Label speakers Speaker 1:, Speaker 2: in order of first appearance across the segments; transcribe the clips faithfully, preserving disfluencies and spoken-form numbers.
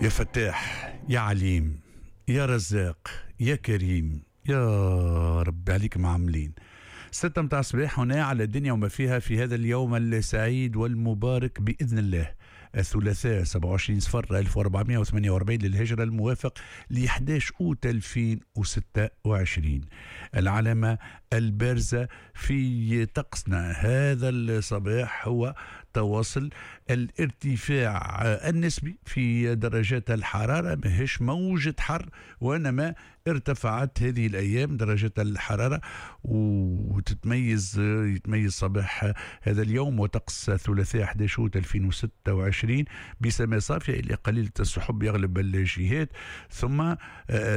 Speaker 1: يا فتاح، يا عليم، يا رزاق، يا كريم، يا رب عليك معاملين. ستة متاع الصباح هنا على الدنيا وما فيها في هذا اليوم السعيد والمبارك بإذن الله، الثلاثاء سبعة وعشرين صفر ألف وأربعمائة وثمانية وأربعين للهجرة، الموافق ل أحد عشر أوت ألفين وستة وعشرين. العلامة البارزة في طقسنا هذا الصباح هو تواصل الارتفاع النسبي في درجات الحرارة، ماهيش موجة حر وإنما ارتفعت هذه الأيام درجات الحرارة، وتتميز يتميز صباح هذا اليوم وطقس الثلاثاء أحد عشر أوت ألفين وستة وعشرين بسماء صافية إلى قليلة السحب يغلب الجهات، ثم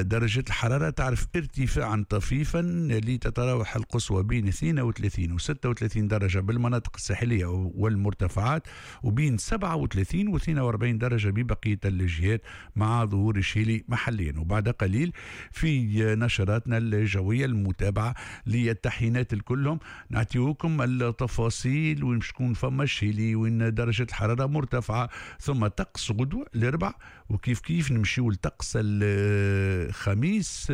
Speaker 1: درجة الحرارة تعرف ارتفاعا طفيفا لتتراوح القصوى بين اثنين وثلاثين و ستة وثلاثين درجة بالمناطق الساحلية والمرتفعات، وبين سبعة وثلاثين و اثنين وأربعين درجة ببقية الجهات مع ظهور الشيلي محليا. وبعد قليل في نشراتنا الجوية المتابعة للتحيينات الكلهم نعطيوكم التفاصيل وين شكون فما الشيلي وين درجة الحرارة مرتفعة، ثم طقس غدوة الأربع، وكيف كيف نمشيو لطقس الخميس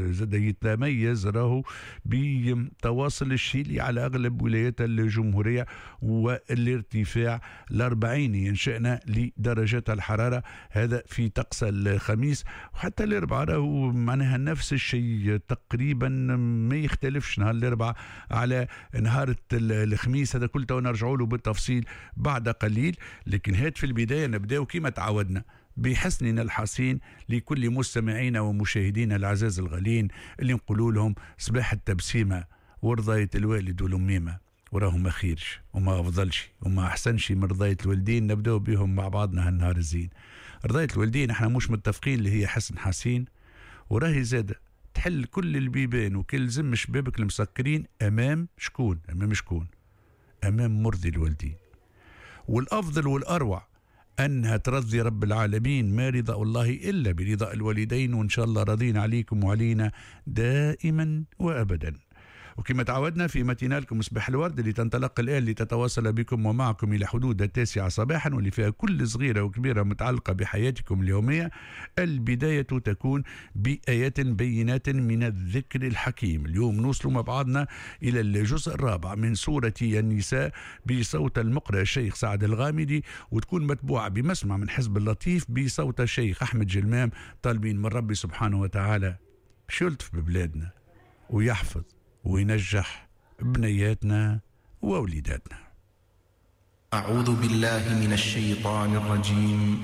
Speaker 1: زاد يتميز راهو بتواصل الشيلي على أغلب ولايات الجمهورية والارتفاع الأربعيني ينشأنا لدرجات الحرارة، هذا في طقس الخميس. وحتى الأربعاء راهو معناها نفس الشيء تقريبا، ما يختلفش نهار الأربعاء على نهار الخميس. هذا كل تو نرجعوا له بالتفصيل بعد قليل، لكن هات في البداية نبداو كما تعودنا بحسننا الحصين لكل مستمعينا ومشاهدينا العزاز الغالين اللي نقولوا لهم صباح التبسيمة ورضاية الوالد والأميمة، وراهم ما خيرش وما أفضلش وما أحسنش من رضاية الوالدين. نبداو بهم مع بعضنا هالنهار الزين. رضاية الوالدين احنا مش متفقين اللي هي حسن حسين، وراهي زادة تحل كل البيبان وكل زم شبابك المسكرين أمام شكون؟ أمام شكون؟ أمام مرضي الوالدين. والأفضل والأروع أنها ترضي رب العالمين، ما رضا الله إلا برضا الوالدين، وإن شاء الله راضين عليكم وعلينا دائما وأبدا. وكما تعودنا في ماتينالكم صباح الورد اللي تنطلق الآن لتتواصل بكم ومعكم إلى حدود التاسعة صباحا، واللي فيها كل صغيرة وكبيرة متعلقة بحياتكم اليومية. البداية تكون بآيات بينات من الذكر الحكيم. اليوم نوصل مع بعضنا إلى الجزء الرابع من سورة النساء بصوت المقرئ الشيخ سعد الغامدي، وتكون متبوعة بمسمع من حزب اللطيف بصوت الشيخ أحمد جلمام، طالبين من ربي سبحانه وتعالى باش يلطف ببلادنا ويحفظ وينجح بنياتنا ووليداتنا.
Speaker 2: أعوذ بالله من الشيطان الرجيم.